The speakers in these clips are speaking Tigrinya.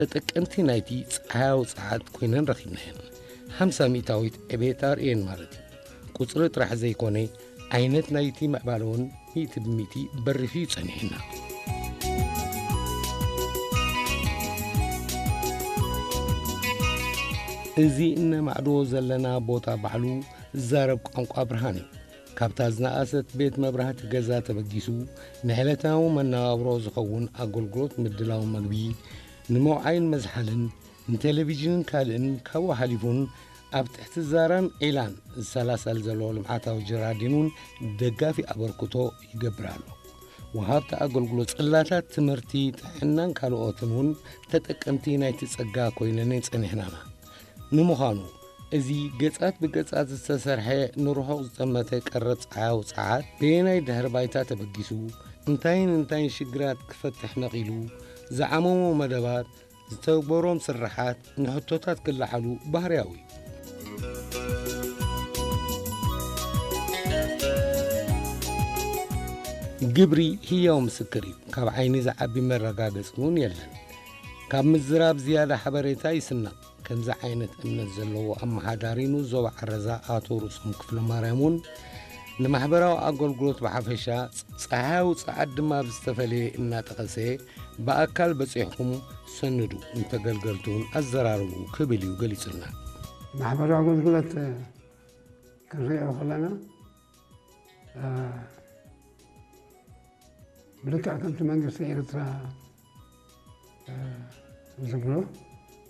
ተጠቀምቲ ናይቲ ጸሓያዊ ጸዓት ኮይነን ረኺብናየን። ሓምሳ ሚእታዊት ዕቤት ኣርእየን ማለት እዩ። ቁጽሪ ጥራሕ ዘይኮነ፣ ዓይነት ናይቲ ምዕባለ እውን ሚእቲ ብሚእቲ በሪኹ እዩ ጸኒሑና። እዚ እነማዕድዎ ዘለና ቦታ ባዕሉ ዝዛረብ ቋንቋ ብርሃን እዩ። ካብታ ዝነኣሰት ቤት መብራህቲ ገዛ ተበጊሱ፣ ንዕለታዊ መነባብሮ ዝኸውን ኣገልግሎት ምድላው መግቢ፣ ንመውዓይን መዝሓልን፣ ንቴሌቪዥንን ካልእን፣ ካብኡ ሓሊፉን ኣብ ትሕቲ ዛራን ዒላን ዝሰላሰል ዘሎ ልምዓታዊ ጀራዲን እውን ደጋፊ ኣበርክቶ ይገብር ኣሎ። ወሃብቲ ኣገልግሎት ጽላታት ትምህርቲ፣ ጥዕናን ካልኦትን እውን ተጠቀምቲ ናይቲ ጸጋ ኮይነን ጸኒሕናና። ንምዃኑ፣ እዚ ገጻት ብገጻት ዝተሰርሐ ንርሑቕ ዝጠመተ ቀረብ ጸሓያዊ ጸዓት በየናይ ድሕሪ ባይታ ተበጊሱ፣ እንታይን እንታይን ሽግራት ክፈትሕ ነቒሉ፣ ዝዓመሞ መደባት፣ ዝተግበሮም ስርሓት ንሕቶታት ክለዓሉ ባህርያዊ እዩ። ግብሪ ህያው ምስክር እዩ። ካብ ዓይኒ ዝዓቢ መረጋገጺ እውን የለን። ካብ ምዝራብ ዝያዳ ሓበሬታ ይስነቕ። ከምዚ ዓይነት እምነት ዘለዎ ኣመሓዳሪ ንኡስ ዞባ ዓረዛ ኣቶ ርእሶም ክፍለማርያም እውን ንማሕበራዊ ኣገልግሎት ብሓፈሻ፣ ጸሓያዊ ጸዓት ድማ ብዝተፈለየ እናጠቐሰ፣ ብኣካል በጺሕኩም ሰንዱ፣ ንተገልገልቲ እውን ኣዘራርቡ ክብል እዩ ገሊጹልና። ማሕበራዊ ኣገልግሎት ክንሪኦ ከለና፣ እ፣ ብልክዕ ከምቲ መንግስቲ ኤርትራ፣ እ፣ ዝብሎ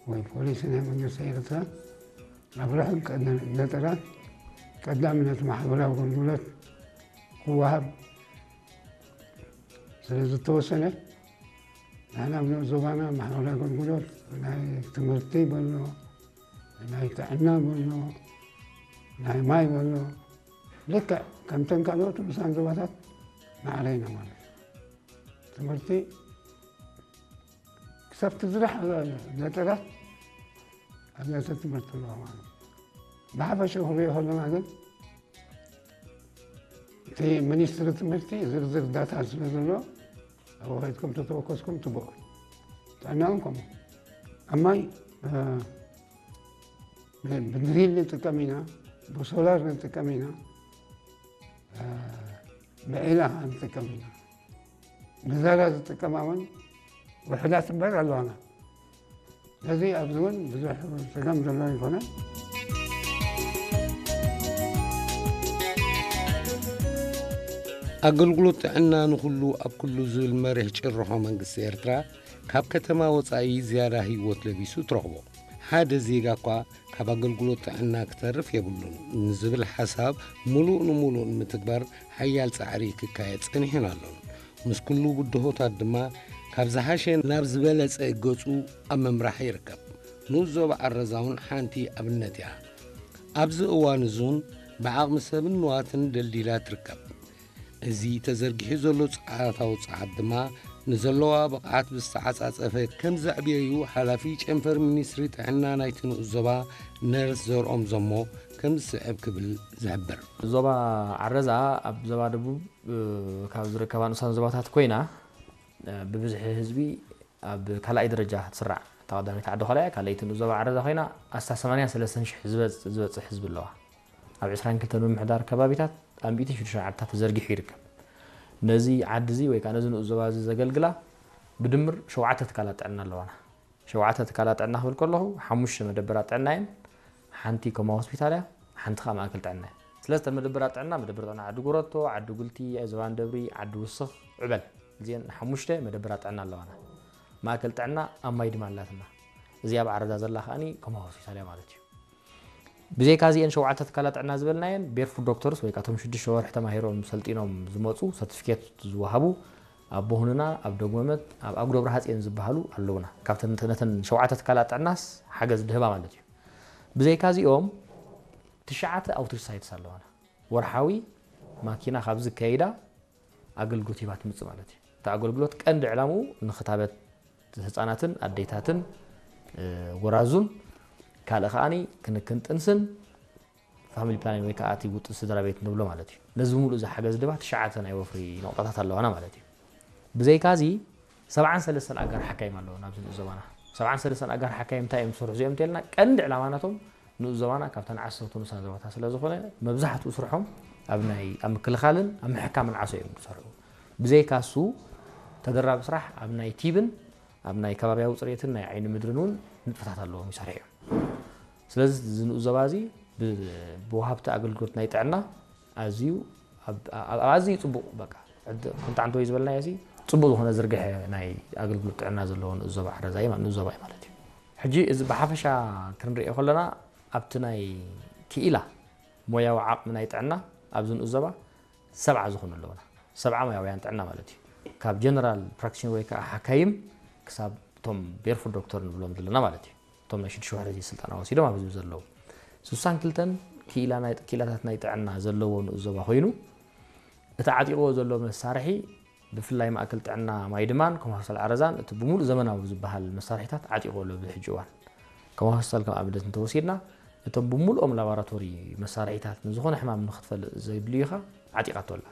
ወይ ፖሊሲ ናይ መንግስቲ ኤርትራ፣ ኣብ ርሑቕ ቀ-፣ ገጠራት ቀዳምነት ማሕበራዊ ኣገልግሎት ክወሃብ ስለ ዝተወሰነ፣ ንሕና ኣብ ንኡስ ዞባና ማሕበራዊ ኣገልግሎት፣ ናይ ትምህርቲ በሎ፣ ናይ ጥዕና በሎ፣ ናይ ማይ በሎ፣ ልክዕ ከምተን ካልኦት ንኡሳን ዞባታት ማዕረ ኢና ማለት እዩ። ትምህርቲ ክሳብ እቲ ዝረሓቐ ገጠራት ኣብያተ ትምህርቲ ኣለዋ ማለት እዩ። ብሓፈሻ ክንሪኦ ከለና ግን፣ እቲ ሚኒስትሪ ትምህርቲ ዝርዝር ዳታ ስለ ዘሎ፣ ኣብኡ ከይድኩም ተተወከስኩም ጽቡቕ። ጥዕና እውን ከምኡ። ኣብ ማይ፣ እ፣ ብ-፣ ብድሪል ንጥቀም ኢና፣ ብሶላር ንጥቀም ኢና፣ እ፣ ብዒላ ንጥቀም ኢና። ብዛራ ዝጥቀማ እውን ውሑዳት እምበር ኣለዋና። ስለዚ ኣብዚ እውን ብዙሕ ጸገም ዘሎ ኣይኮነን። ኣገልግሎት ጥዕና ንኹሉ ኣብ ኩሉ ዝብል መሪሕ ጭርሖ መንግስቲ ኤርትራ፣ ካብ ከተማ ወጻኢ ዝያዳ ህይወት ለቢሱ ትረኽቦ። ሓደ ዜጋ እኳ ካብ ኣገልግሎት ጥዕና ክተርፍ የብሉን ንዝብል ሓሳብ፣ ምሉእ ንምሉእ ንምትግባር ሓያል ጻዕሪ ክካየድ ጸኒሑን ኣሎን። ምስ ኩሉ ብድሆታት ድማ፣ ካብ ዝሓሸ ናብ ዝበለጸ ገጹ ኣብ ምምራሕ ይርከብ። ንኡስ ዞባ ዓረዛ እውን ሓንቲ ኣብነት እያ። ኣብዚ እዋን እዙን ብዓቕሚ ሰብን ንዋትን ደልዲላ ትርከብ። እዚ ተዘርጊሑ ዘሎ ጸዓታዊ ጸዓት ድማ፣ ንዘለዋ ብቕዓት ብዝተዓጻጸፈ ከም ዘዕብየዩ ሓላፊ ጨንፈር ሚኒስትሪ ጥዕና ናይቲ ንኡስ ዞባ ነርስ ዘርኦም ዘሞ ከም ዝስዕብ ክብል ዝሕብር። ዞባ ዓረዛ ኣብ ዞባ ደቡብ፣ እ፣ ካብ ዝርከባ ንኡሳን ዞባታት ኮይና፣ እ፣ ብብዝሒ ህዝቢ ኣብ ካልኣይ ደረጃ ትስራዕ። እታ ቀዳመይቲ ዓዲ ኾላ እያ፣ ካልኣይቲ ንኡስ ዞባ ዓረዛ ኮይና፣ ኣስታት ሰማንያን ሰለስተን ሽሕ ዝበጽ-፣ ዝበጽሕ ህዝቢ ኣለዋ። ኣብ ዕስራን ክልተን ምምሕዳር ከባቢታት ኣብ ሚእትን ሽዱሽተን ዓድታት ተዘርጊሑ ይርከብ። ነዚ ዓዲ እዚ ወይ ከዓ ነዚ ንኡስ ዞባ እዚ ዘገልግላ ብድምር ሸውዓተ ትካላት ጥዕና ኣለዋና። ሸውዓተ ትካላት ጥዕና ክብል ከለኹ፣ ሓሙሽተ መደበራት ጥዕና እየን፣ ሓንቲ ኮማ ሆስፒታል እያ፣ ሓንቲ ከዓ ማእከል ጥዕና እያ። ስለዚ እተን መደበራት ጥዕና፣ መደበር ጥዕና ዓዲ ጎረቶ፣ ዓዲ ጉልቲ፣ ዝባን ደብሪ፣ ዓዲ ውስኽ፣ ዕበል፣ እዚአን ሓሙሽተ መደበራት ጥዕና ኣለዋና። ማእከል ጥዕና ኣብ ማይ ድማ ኣላትና። እዚኣ ኣብ ዓረዛ ዘላ ከዓኒ ኮማ ሆስፒታል እያ ማለት እዩ። ብዘይካ እዚአን ሸውዓተ ትካላት ጥዕና ዝበልናየን፣ ቤርፉት ዶክተርስ ወይ ከዓ እቶም ሽዱሽተ ወርሒ ተማሂሮም ሰልጢኖም ዝመፁ፣ ሰርቲፊኬት ዝወሃቡ፣ ኣብ ቦሁንና፣ ኣብ ደጎመት፣ ኣብ ኣጉዶ ብርሃፅየን ዝበሃሉ ኣለውና። ካብተን ነተን ሸውዓተ ትካላት ጥዕናስ ሓገዝ ድህባ ማለት እዩ። ብዘይካ እዚኦም፣ ትሽዓተ ኣውትሪች ሳይትስ ኣለዋና። ወርሓዊ ማኪና ካብዚ ከይዳ ኣገልግሎት ሂባ ትምጽእ ማለት እዩ። እቲ ኣገልግሎት ቀንዲ ዕላምኡ ንክታበት ህጻናትን ኣዴታትን፣ እ፣ ጎራዙን፣ ካልእ ከዓኒ ክንክን ጥንስን ፋሚሊ ፕላኒንግ ወይ ከዓ እቲ ውጥን ስድራ ቤት ንብሎ ማለት እዩ። ነዚ ብምሉእ እዚ ሓገዝ ድማ ትሽዓተ ናይ ወፍሪ ነቑጣታት ኣለዋና ማለት እዩ። ብዘይካ እዚ፣ ሰብዓን ሰለስተን ኣጋር ሓካይም ኣለዎ ናብዚ ንኡስ ዞባና። ሰብዓን ሰለስተን ኣጋር ሓካይም እንታይ እዮም ዝሰርሑ እዚኦም እንተልና ቀንዲ ዕላማ ናቶም ንኡስ ዞባና ካብተን ዓሰርተ ንኡሳን ዞባታት ስለ ዝኾነ መብዛሕትኡ ስርሖም ኣብ ናይ ኣብ ምክልኻልን ኣብ ምሕካምን ዓሶ እዮም ዝሰርሑ። ብዘይካ እሱ ተደራቢ ስራሕ ኣብ ናይ ቲብን ኣብ ናይ ከባቢያዊ ፅሬትን ናይ ዓይኒ ምድርን እውን ንጥፈታት ኣለዎም ይሰርሑ እዮም። ስለዚ እዚ ንኡስ ዞባ እዚ ብ- ብወሃብቲ ኣገልግሎት ናይ ጥዕና ኣዝዩ ኣብ- ኣብ- ኣዝዩ ፅቡቕ በቃ ዕድ- ኮንታንት ወይ ዝበልናዮ እዚ ፅቡቕ ዝኾነ ዝርግሐ ናይ ኣገልግሎት ጥዕና ዘለዎ ንኡስ ዞባ ዓረዛ እዩ ማ- ንኡስ ዞባ እዩ ማለት እዩ። ሕጂ እዚ ብሓፈሻ ክንሪኦ ከለና ኣብቲ ናይ ክኢላ ሞያዊ ዓቕሚ ናይ ጥዕና ኣብዚ ንኡስ ዞባ ሰብዓ ዝኾኑ ኣለውና። ሰብዓ ሞያውያን ጥዕና ማለት እዩ። ካብ ጀነራል ፕራክቲሽነር ወይ ከዓ ሓካይም ክሳብ እቶም ቤርፉት ዶክተር ንብሎም ዘለና ማለት እዩ። እቶም ናይ ሽዱሽተ ወርሒ ስልጠና ወሲዶም ኣብዚ ዘለዉ ስሳን ክልተን ክኢላ ናይ- ክኢላታት ናይ ጥዕና ዘለዎ ንኡስ ዞባ ኮይኑ እቲ ዓጢቕዎ ዘሎ መሳርሒ ብፍላይ ማእከል ጥዕና ማይድማን ከምኡ ሆስፒታል ዓረዛን እቲ ብምሉእ ዘመናዊ ዝበሃል መሳርሒታት ዓጢቕዎ ኣሎ። ብሕጂ እዋን ከም ሆስፒታል ከም ኣብነት እንተወሲድና እቶም ብምሉኦም ላቦራቶሪ መሳርሒታት ንዝኾነ ሕማም ንክትፈልጥ ዘድልዩኻ ዓጢቓቶ ኣላ።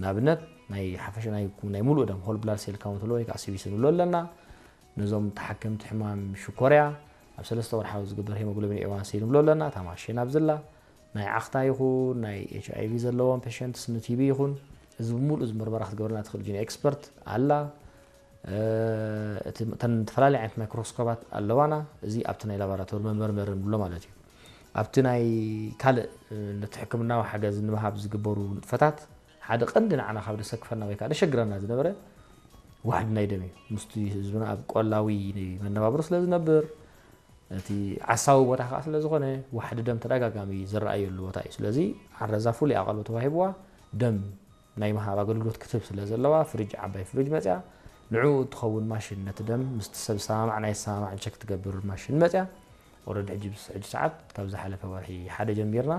ንኣብነት ናይ ሓፈሻ ናይ ናይ ሙሉእ ደም ሆል ብላድ ሴል ካውንት ወይ ከዓ ሲቢሲ ንብሎ ኣለና። ነዞም ተሓከምቲ ሕማም ሽኮርያ ኣብ ሰለስተ ወርሓዊ ዝግበር ሄሞግሎቢን ኤዋንሲ ንብሎ ኣለና። እታ ማሽን ኣብዝላ ናይ ዓኽታ ይኹን ናይ ኤች ኣይ ቪ ዘለዎም ፔሸንትስ ንቲቢ ይኹን እዚ ብምሉእ እዚ ምርመራ ክትገብረና ትኽእል ጂን ኤክስፐርት ኣላ። እ፣ እቲ- እተን ዝተፈላለየ ዓይነት ማይክሮስኮባት ኣለዋና። እዚ ኣብቲ ናይ ላቦራቶሪ መመርመሪ ንብሎ ማለት እዩ። ኣብቲ ናይ ካልእ እ፣ ነቲ ሕክምናዊ ሓገዝ ንምሃብ ዝግበሩ ንጥፈታት ሓደ ቀንዲ ንዓና ካብ ደሰክፈና ወይ ከዓ ደሸግረና ዝነበረ ዋሕዲ ናይ ደም እዩ። ምስቲ ህዝብና ኣብ ቆላዊ መነባብሮ ስለ ዝነብር እቲ ዓሳዊ ቦታ ከዓ ስለ ዝኾነ ዋሕዲ ደም ተደጋጋሚ ዝረኣየሉ ቦታ እዩ። ስለዚ ዓረዛ ፍሉይ ኣቓልቦ ተዋሂብዋ ደም ናይ ምሃብ ኣገልግሎት ክትህብ ስለ ዘለዋ ፍሪጅ ዓባይ ፍሪጅ መፅያ ንዕኡ እትኸውን ማሽን ነቲ ደም ምስቲ ሰብ ዝሰማማዕ ናይ ዝሰማማዕ ቸክ ትገብር ማሽን መፅያ። ኦረዲ ሕጂ ብስ- ሕጂ ሰዓት ካብ ዝሓለፈ ወርሒ ሓደ ጀሚርና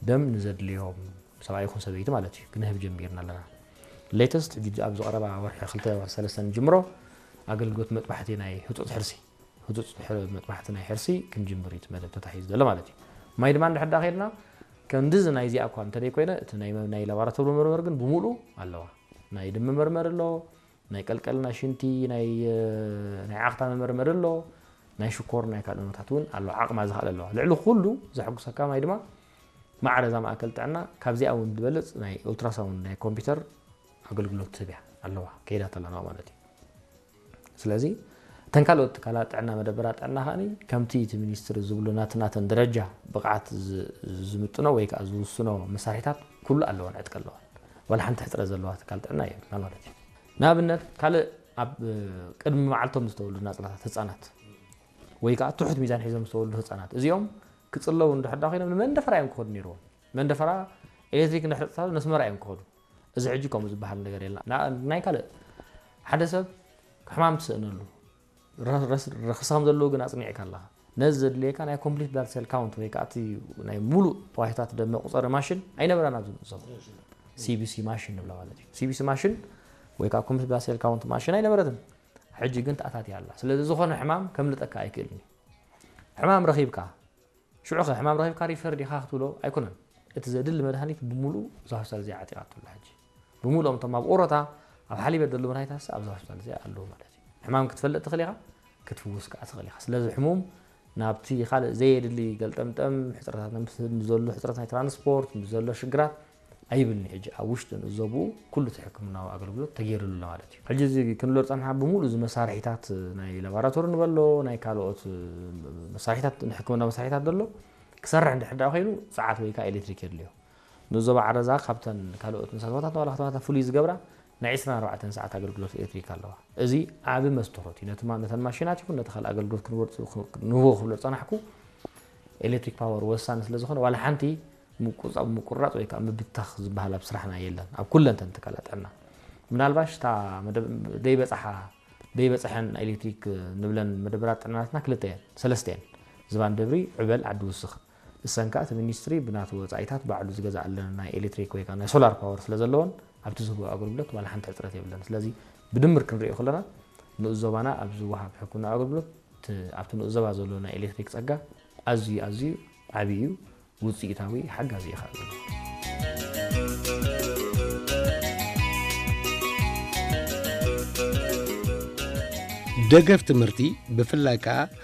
ደም ንዘድልዮም ሰብኣይ ይኹን ሰበይቲ ማለት እዩ ክንህብ ጀሚርና ኣለና። ሌተስት ሕጂ ኣብ ዝቐረባ ወርሒ ክልተ ሰለስተ ንጅምሮ ኣገልግሎት መጥባሕቲ ናይ ህፁፅ ሕርሲ ህፁፅ ሕር- መጥባሕቲ ናይ ሕርሲ ክንጅምር እዩ እቲ መደብ ተታሒዙ ዘሎ ማለት እዩ። ማይ ድማ እንድሕር ዳ ከይድና ከምዚ ናይዚኣ እኳ እንተደይ ኮይነ እቲ ናይ መ- ናይ ላቦራቶሪ መመርመሪ ግን ብምሉእ ኣለዋ። ናይ ደም መመርመሪ ኣሎ፣ ናይ ቀልቀልና ሽንቲ ናይ እ፣ ናይ ዓኽታ መመርመሪ ኣሎ፣ ናይ ሽኮር ናይ ካልእ ነታት እውን ኣሎ። ዓቕማ ዝኽኣለ ኣለዋ። ልዕሊ ኩሉ ዘሐጉሰካ ማይ ድማ ማዕረ እዛ ማእከል ጥዕና ካብዚኣ እውን ዝበልፅ ናይ ኡልትራሳውንድ ናይ ኮምፒውተር ኣገልግሎት ትህብ እያ ኣለዋ ከይዳት ኣለና ማለት እዩ። ስለዚ እተን ካልኦት ትካላት ጥዕና መደበራት ጥዕና ከዓኒ ከምቲ እቲ ሚኒስትሪ ዝብሉ ናትናተን ደረጃ ብቕዓት ዝ- ዝምጥኖ ወይ ከዓ ዝውስኖ መሳርሒታት ኩሉ ኣለወን ዕጥቂ ኣለወን። ዋላ ሓንቲ ሕፅረት ዘለዋ ትካል ጥዕና የብልና ማለት እዩ። ንኣብነት ካልእ ኣብ ቅድሚ መዓልቶም ዝተወልዱ ናፅላታት ህፃናት ወይ ከዓ ትሑት ሚዛን ሒዞም ዝተወልዱ ህፃናት እዚኦም ክፅለዉ እንድሕር ዳ ኮይኖም ንመንደፈራ እዮም ክኸዱ ነይርዎም። መንደፈራ ኤሌክትሪክ እንድሕር ጥፋሉ ነስመራ እዮም ክኸዱ። እዚ ሕጂ ከምኡ ዝበሃል ነገር የለን። ና- ናይ ካልእ ሓደ ሰብ ሕማም ትስእነሉ ረክስኻም ዘለዉ ግን ኣፅኒዕካ ኣለኻ። ነዚ ዘድልየካ ናይ ኮምፕሊት ብላድ ሴል ካውንት ወይ ከዓ እቲ ናይ ሙሉእ ተዋሂታት ደም መቁፀሪ ማሽን ኣይነበረን ኣብዚ ንእዞም ሲቢሲ ማሽን ንብላ ማለት እዩ። ሲቢሲ ማሽን ወይ ከዓ ኮምፕሊት ብላድ ሴል ካውንት ማሽን ኣይነበረትን። ሕጂ ግን ተኣታትያ ኣላ። ስለዚ ዝኾነ ሕማም ከምልጠካ ኣይክእልን እዩ። ሕማም ረኺብካ ሽዑ ከ ሕማም ረኺብካ ሪፈር ዲኻ ክትብሎ ኣይኮነን። እቲ ዘድሊ መድሃኒት ብምሉእ እዛ ሆስፒታል እዚኣ ዓጢቓቶ ኣላ። ሕጂ ብምሉኦም እቶም ኣብ ኦሮታ ኣብ ሓሊበት ዘለዉ መድሃኒታት ኣብዛ ሆስፒታል እዚኣ ኣለዉ ማለት እዩ። ሕማም ክትፈልጥ ትኽእል ኢኻ፣ ክትፍውስ ከዓ ትኽእል ኢኻ። ስለዚ ሕሙም ናብቲ ካልእ ዘየድሊ ገልጠምጠም ሕፅረታት ምስ ምስ ዘሎ ሕፅረት ናይ ትራንስፖርት ምስ ዘሎ ሽግራት ኣይብልኒ። ሕጂ ኣብ ውሽጢ ንእዘብኡ ኩሉ እቲ ሕክምናዊ ኣገልግሎት ተገይሩሉ ኣሎ ማለት እዩ። ሕጂ እዚ ክንብሎ ዝፀንሓ ብምሉእ እዚ መሳርሒታት ናይ ላቦራቶሪ ንበሎ ናይ ካልኦት መሳርሒታት ንሕክምና መሳርሒታት ዘሎ ክሰርሕ እንድሕር ዳ ኮይኑ ፀዓት ወይ ከዓ ኤሌክትሪክ የድልዮ። ንዞባ ዓረዛ ካብተን ካልኦት ንሳት ቦታት ንባዕላ ከተማታት ፍሉይ ዝገብራ ናይ ዕስራን ኣርባዕተን ሰዓት ኣገልግሎት ኤሌክትሪክ ኣለዋ። እዚ ዓቢ መስተኾት እዩ። ነቲ ማ- ነተን ማሽናት ይኹን ነቲ ካልእ ኣገልግሎት ክንወርፅ ንህቦ ክብሎ ዝፀናሕኩ ኤሌክትሪክ ፓወር ወሳኒ ስለ ዝኾነ ዋላ ሓንቲ ምቁፃ- ምቁራፅ ወይ ከዓ ምብታኽ ዝበሃል ኣብ ስራሕና የለን ኣብ ኩለን ተን ትካላት ጥዕና። ምናልባሽ እታ መደብ- ዘይበፅሓ ዘይበፅሐን ኤሌክትሪክ ንብለን መደበራት ጥዕናትና ክልተ እየን ሰለስተ እየን ዝባን ደብሪ ዕበል ዓዲ ውስኽ እሰን ከዓ እቲ ሚኒስትሪ ብናቱ ወፃኢታት ባዕሉ ዝገዝኣለን ናይ ኤሌክትሪክ ወይ ከዓ ናይ ሶላር ፓወር ስለ ዘለዎን ኣብቲ ዝህቦ ኣገልግሎት ዋላ ሓንቲ ሕፅረት የብለን። ስለዚ ብድምር ክንሪኦ ከለና ንኡስ ዞባና ኣብ ዝወሃብ ሕክምና ኣገልግሎት እቲ ኣብቲ ንኡስ ዞባ ዘሎ ናይ ኤሌክትሪክ ፀጋ ኣዝዩ ኣዝዩ ዓብዪ እዩ፣ ውፅኢታዊ ሓጋዚ እዩ ከዓ ዘሎ። ደገፍ ትምህርቲ፣ ብፍላይ ከኣ